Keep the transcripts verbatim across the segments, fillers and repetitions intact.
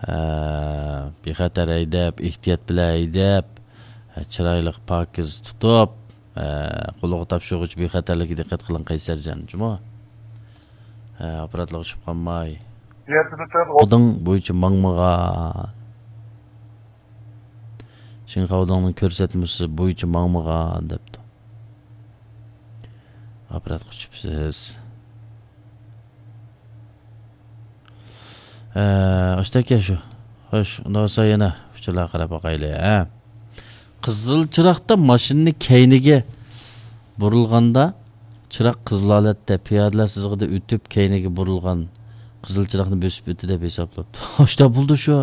ئە، بىخەتەر ھەيدەپ، ئېھتىيات بىلەن ھەيدەپ، ئە، چىرايلىق، پاكىز تۇتۇپ، ئە، قولىغا تاپشۇرغۇچ بىخەتەرلىككە دىققەت قىلىڭ، قەيسەرجان، جۇمۇ. ئە، ئاپپاراتلارغا چۈشۈپ قالماي. يەتتە تۆت ئوت. خاۋدىڭ بويىچە ماڭمىغان. شىنخاۋدىڭنىڭ كۆرسەتمىسى بويىچە ماڭمىغان دەپتۇ. ئاپپاراتقا چۈشۈپسىز. ئە، ئاشتەكە شۇ. خوش، ئۇنداق بولسا يەنە ئۇچۇرلارغا قاراپ باقايلى، ھە. قىزىل چىراغدا ماشىنىنى كەينىگە بۇرۇلغاندا، چىراغ قىزىل ھالەتتە، پىيادىلەر سىزىقىدا ئۆتۈپ، كەينىگە بۇرۇلغان قىزىل چىراغنى بۆسۈپ ئۆتتى دەپ ھېسابلاپتۇ. ئاشتا بولدى شۇ.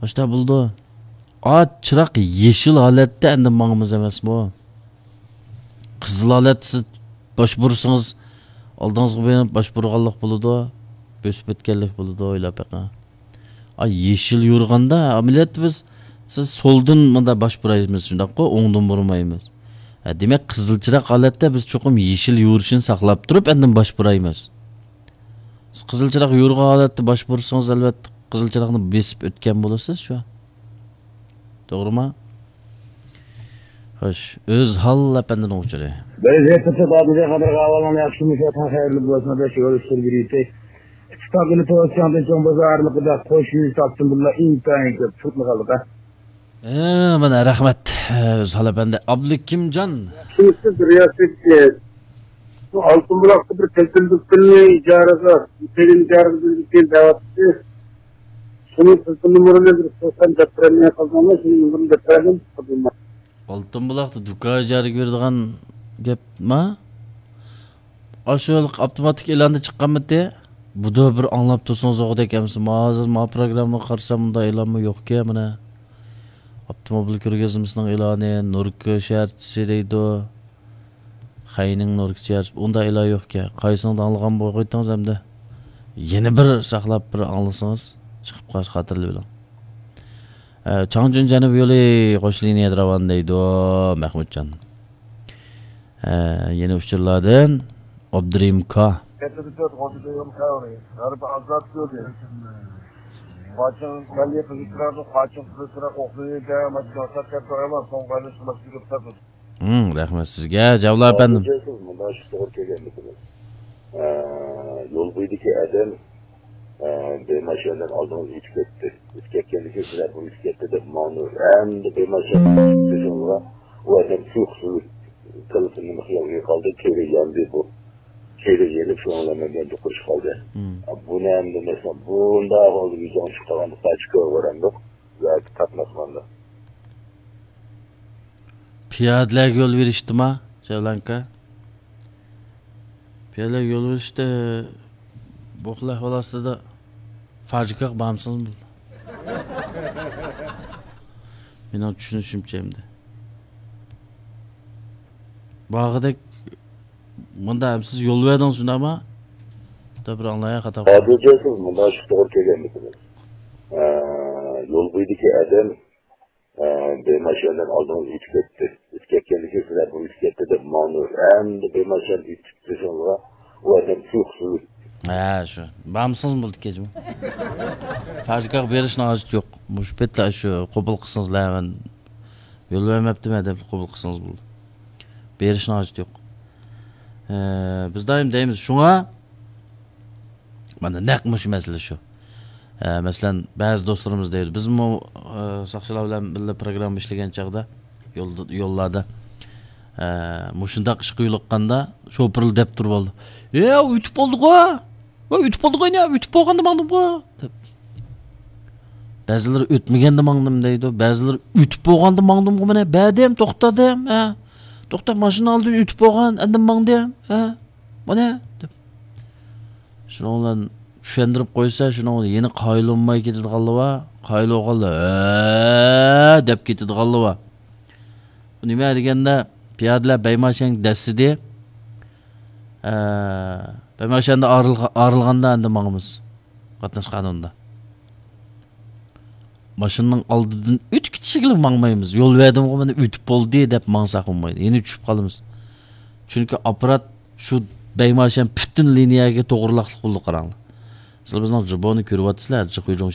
ئاشتا بولدى. ئا، چىراغ يېشىل ھالەتتە ئەندى ماڭىمىز ئەمەسمۇ؟ قىزىل ھالەتتە سىز باش بۇرسىڭىز، ئالدىڭىزغا بېرىپ باش بۇرغانلىق بولىدۇ، بۆسۈپ ئۆتكەنلىك بولىدۇ، ئويلاپ بېقىڭ. ئا، يېشىل يورۇغاندا ئەمەلىيەتتە بىز، سىز سولدىن مۇندا باش بۇرايمىز، شۇنداققۇ، ئوڭدىن بۇرمايمىز. ھە، دېمەك، قىزىل چىراغ ھالەتتە بىز چوقۇم يېشىل يورۇشىنى ساقلاپ تۇرۇپ، ئاندىن باش بۇرايمىز. سىز قىزىل چىراغ يورۇغان ھالەتتە باش بۇرسىڭىز، ئەلۋەتتە، قىزىل چىراغنى بېسىپ ئۆتكەن بولىسىز شۇ. توغرىمۇ؟ خوش، ئۆزھال ئەپەندىنىڭ ئۇچۇرى. بەزى ھەقىقەتتە بابىدە قادىر ئەھۋالىڭ ياخشىمۇ، خەيرلىك بولسۇن، بەش يول ئۈستىگە يېتەي. ئىتتىپاق ئىلى توسچاڭدىن چوڭ بازار ئارىلىقىدا قوش يۈز ئاپتوموبىللار ئىنتايىن كۆپ تۇرۇپمۇ قالدى. ئە، مانا رەھمەت، ئە، ئۆزھال ئەپەندى. ئابلىكىمجان. شۇنىسى بىر ياسىكى، بۇ ئالتۇن بۇلاقتا بىر تېلېفون دۇكىنىنى ئىجارىگە، تېلېفون ئىجارىگە بېرىدىكەن دەۋاتتى. شۇنىڭ تېلېفون نومۇرىنى بىر سورىسام دەپ بېرەلمەي قالدىڭمۇ؟ شۇنىڭ نومۇرىنى دەپ بەرگىن. ئالتۇن بۇلاقتا دۇكان ئىجارىگە بېرىدىغان گەپما؟ ئاشۇ ئاپتوماتىك ئېلاندا چىققانمىتى؟ بۇدا بىر ئاڭلاپ تۇرسىڭىز ئوغۇدەك ئەمىسە، ھازىر ما پروگراممىغا قارىسام، ئۇنداق ئېلانمۇ يوقكەن مانا. ئاپتوموبىل كۆرگەزمىسىنىڭ ئېلانى، نۇركا شەھەرچىسى دەيدۇ. خەينىڭ نۇركا شەھەرچىسى، ئۇنداق ئېلان يوقكەن. قايسىڭىز ئاڭلىغان بولغىيتىڭىز ئەمدى. يەنە بىر ساقلاپ بىر ئاڭلىسىڭىز، چىقىپ قالسا خاتىرىلىۋېلىڭ. ئە، چاڭجۈن جەنۇب يولى قوش لىنىيەدە راۋان دەيدۇ، مەھمۇتجان. ئە، يەنە ئۇچۇرلاردىن ئابدۇرېھىم كا. ھىم، رەھمەت سىزگە، جاۋلا ئەپەندىم. ئە، يول بويىدىكى ئادەم، ئە، بىر ماشىنىدىن ئالدىڭىزغا ئۆتۈپ كەتتى. ئۆتۈپ كەتكەندىن كېيىن سىلەر بۇ ئۆتۈپ كەتتى دەپ ماڭدى. ئەمدى بىر ماشىنا ئۆتۈپ ئۇ ئادەم تۇيۇقسىز تېلېفوننىڭ خىيالىغا قالدى، كۆزى ياندى بۇ. كۆزى يېنىپ، شۇنىڭ بىلەن مەن بىلەن دوقۇرۇشۇپ قالدى. مم. بۇنى ئەمدى مەسىلەن، بۇنداق ھالدا يۈزۈڭ چىقىپ قالغاندا قاچا كۆرۈۋېرەمدۇق ياكى تارتماسماندۇق. پىيادىلەرگە يول بېرىشتىما، جەۋلانكا؟ پىيادىلەرگە يول بېرىشتە بۇ خىل ئەھۋال ئاستىدا فاجىكاغا بارمىسىڭىز بولدى. مېنىڭ چۈشىنىشىمچە ئەمدى. بارغۇدەك مۇندا ھەم سىز يول بەردىڭىز، شۇنداقما؟ بۇندا بىر ئاڭلايا خاتا قىلدىم. ھازىرچە سىز مۇنداق توغرا كەلگەنمىسىڭىز؟ ئە، يول بويىدىكى ئادەم، ئە، بىر ماشىنىدىن ئالدىڭىز ئۆتۈپ كەتتى. ئۆتۈپ كەتكەندىن كېيىن سىلەر بۇ ئۆتۈپ كەتتى دەپ ماڭدى. ئەمدى بىر ماشىنا ئۆتۈپ كېتىشىڭىزغا ئۇ ئادەم تۇيۇقسىز. ھە، شۇ. بارمىسىڭىز بولدى كەچمۇ. فاجىكاغا بېرىشنىڭ ھاجىتى يوق. مۇشۇ پېتى شۇ قوبۇل قىلسىڭىز، مەن يول بەرمەپتىمەن دەپ قوبۇل قىلسىڭىز بولدى. بېرىشنىڭ ھاجىتى يوق. ئە، بىز دائىم دەيمىز، شۇڭا مانا نەق مۇشۇ مەسىلە شۇ. ئە، مەسىلەن، بەزى دوستلىرىمىز دەيدۇ، بىزمۇ، ئە، ساقچىلار بىلەن بىللە پروگرامما ئىشلىگەن چاغدا، يولدا، يوللاردا، ئە، مۇشۇنداق ئىشقا يولۇققاندا، شوپۇرلا دەپ تۇرۇپ ئالدى. «ئە، ئۆتۈپ بولدىغۇ! ۋە ئۆتۈپ بولدىغۇ، يەنە ئۆتۈپ بولغاندا ماڭدىمغۇ!» دەپ. بەزىلىرى «ئۆتمىگەندە ماڭدىم» دەيدۇ، بەزىلىرى «ئۆتۈپ بولغاندا ماڭدىمغۇ، مانا بەردىم، توختاتتىم، ھە، توختاپ ماشىنا ئالدىن ئۆتۈپ بولغان، ئاندىن ماڭدىم، ھە، مانا» دەپ. شۇنىڭ بىلەن چۈشەندۈرۈپ قويسا، شۇنىڭ بىلەن يەنە قايىل بولماي كېتىدىغانلار بار، قايىل بولغانلار «ھە» دەپ كېتىدىغانلار بار. بۇ نېمە دېگەندە، پىيادىلەر بەيماشەنگە دەسسىدى. ئە، بەيماشەندە ئايرىلغا-، ئايرىلغاندا ئەندى ماڭىمىز. قاتناش قانۇنىدا. ماشىنىنىڭ ئالدىدىن ئۆتۈپ كېتىشىگىلا ماڭمايمىز. يول بەردىمغۇ، مانا ئۆتۈپ بولدى دەپ ماڭساق بولمايدۇ. يەنە چۈشۈپ قالىمىز. چۈنكى ئاپپارات شۇ بەيماشەن پۈتۈن لىنىيەگە توغرىلاقلىق بولدى، قاراڭلار. سىلەر بىزنىڭ جىبونى كۆرۈۋاتىسىلەر، جىخۇيجۇڭ